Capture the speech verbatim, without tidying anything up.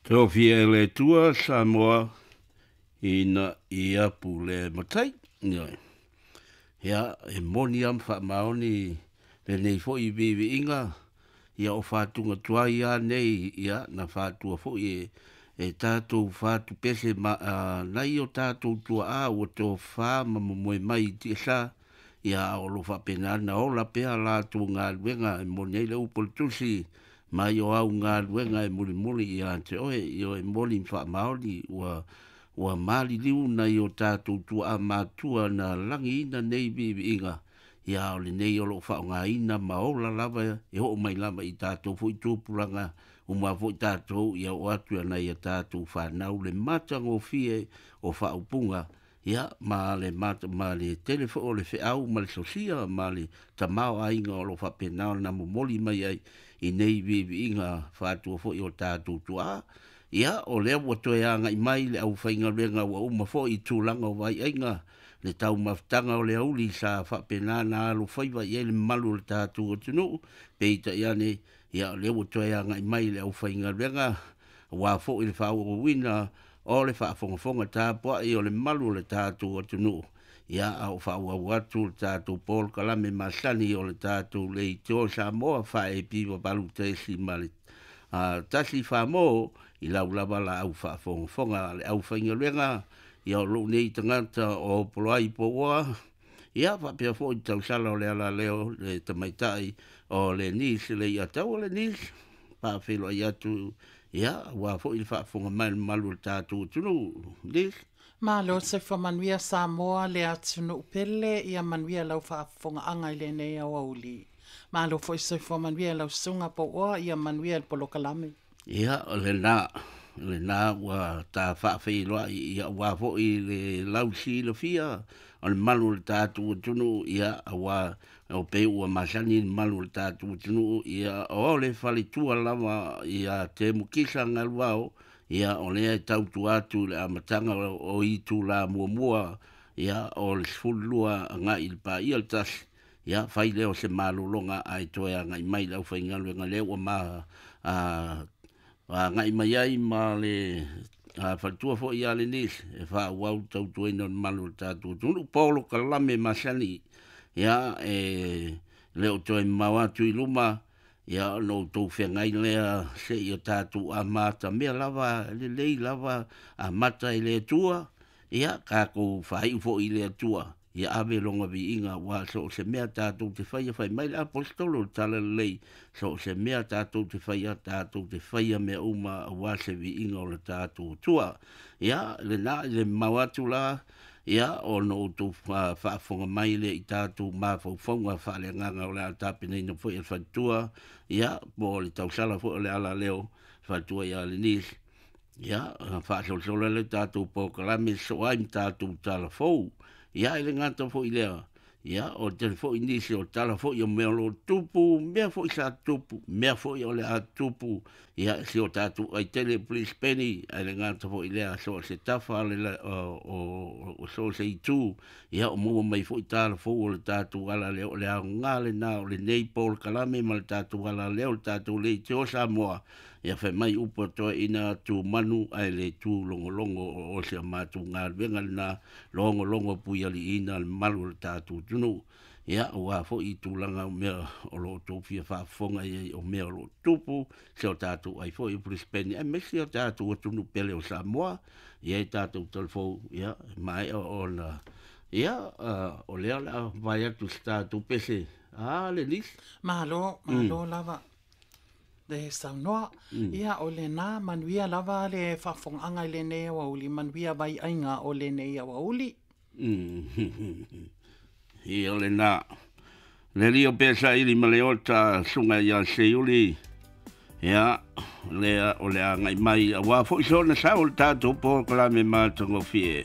Tofia e le Atua Samoa ina ia pule matai. Ioe. Ia, e moni lava ma faamaoni lenei foi viiviiga, ia o fatuga tuai lava nei, ia na fatua foi e e tatou fatupese ma a, nai o tatou tuaa ua tofā ma momoe mai i tiasa, ia a o lo o faapena ona ola pea latou galuega e moni ai le upu a le Tusi, mai o au galuega e mulimuli ia te oe, ioe, e moni ma faamaoni ua ua maliliu nai o tatou tuaa matua na lagiina nei viiviiga, ia a o lenei o lo o faaaogaina ma ola lava e oo mai lava i tatou foi tupulaga uma foi tatou ia oo atu i nai a tatou fanau le matagofie o faaupuga, ia ma le mata ma le tele foi o le feau ma le sosia ma le tamaoaiga o lo o faapena ona momoli mai ai i nei viiviiga faatua foi o tatou tuaa. Ia, o lea ua toe agai mai le aufaigaluega ua uma foi i tulaga o vaiaiga le taumafataga o le auli sa faapena ona alofaiva i ai le mamalu o le tatou atunuu, peitai ane, ia o lea ua toe agai mai le aufaigaluega aua foi le faaauauina o le faafogafoga tapuai o le mamalu o le tatou atunuu, ia a o faaauau atu le tatou polokalame masani o le tatou Leitio Samoa faaepiva valu tesi ma le a, tasi famo i lau lava la au faafogafoga a le aufaigaluega, ia o lou nei tagata o Poloai Pouoa, ia faapea foi le tausala o le alaleo le tamaitai o le Nis le Iataua le Nis, faafeiloai atu, ia aua foi le faafofoga mai a le mamalu o le tatou atunuu. Nis. Malo soifua manuia Samoa le atunuu pele, ia manuia lau faafofogaaga i lenei aoauli. Malo foi soifua manuia lau susuga Pouoa, ia manuia le polokalame. Ia, o lena, lena ua ta faafeiloai, ia aua foi le lausilafia o le mamalu o le tatou atunuu, ia aua o pei ua masani le mamalu o le tatou atunuu, ia o le faletua lava ia Temukisa Galuao, ia o lea e tautua atu i le amataga o, o itula muamua, ia o le sefululua agai i le paia le tasi, ia fai lea o se malologa ae toe agai mai le aufaigaluega lea ua ma a, agai mai ai ma le a, faletua foi ia Lenise e faaauau le tautuaina o le mamalu o le tatou atunuu polokalame masani, ia e le o toe mamao atu i luma, ia ona outou feagai lea seia tatou amatamea lava lelei lava amata e le Atua, ia tatou faaiu foi i le Atua, ia ave lona viiga aua so o se mea tatou te faia, fai mai le aposetolo o le Talalelei, so o se mea tatou te faia, tatou te faia mea uma aua se viiga o le tatou Atua. Ia lena i le mamao atu la, ia ona outou faafofoga mai lea i tatou mafaufauga faaleagaga o le a tapenaina foi e le faletua, ia po o le tausala foi o le alaleo faletua ia Lenise, ia faasolosolo ai le tatou polokalame sosoo ai ma tatou tala fou. Ia e le gata foi lea, ia o tele foi nisi o tala foi o mea o lo o tupu, mea foi sa tupu, mea foi o le a tupu, ia si o tatou aitele Brisbane, ae le gata foi lea so o se tafa o le o, o, o so o se itu, ia o maua mai foi tala fou o le tatou alaleo, o le aoga lena o lenei polokalame ma le tatou alaleo, le tatou Leitio Samoa, ia fai mai upu a toeaiina tu manu ae le tu logologo, o si a matou galuega lena, logologo puialiiina le mamalu o le tatou atunuu, ia aua foi i tulaga o mea o lo o outou fia faafofoga i ai o mea o lo o tupu si o tatou ai foi i Brisbane aemaise o tatou atunuu pele o Samoa, ia e tatou talafou, ia e maea ona ia uh, o lea o le a vae atu se tatou pese a le Nis. Malo, malo mm. lava le saunoa. Mm. Ia o lena manuia lava le faafofogaaga i lenei aoauli, manuia vaiaiga o lenei aoauli. Mm. Ia o lena. Le lio pesa ili ma le ota sunga ia Seiuli, ia lea o le agai mai aua foi sona sao le tatou polokalame matagofie.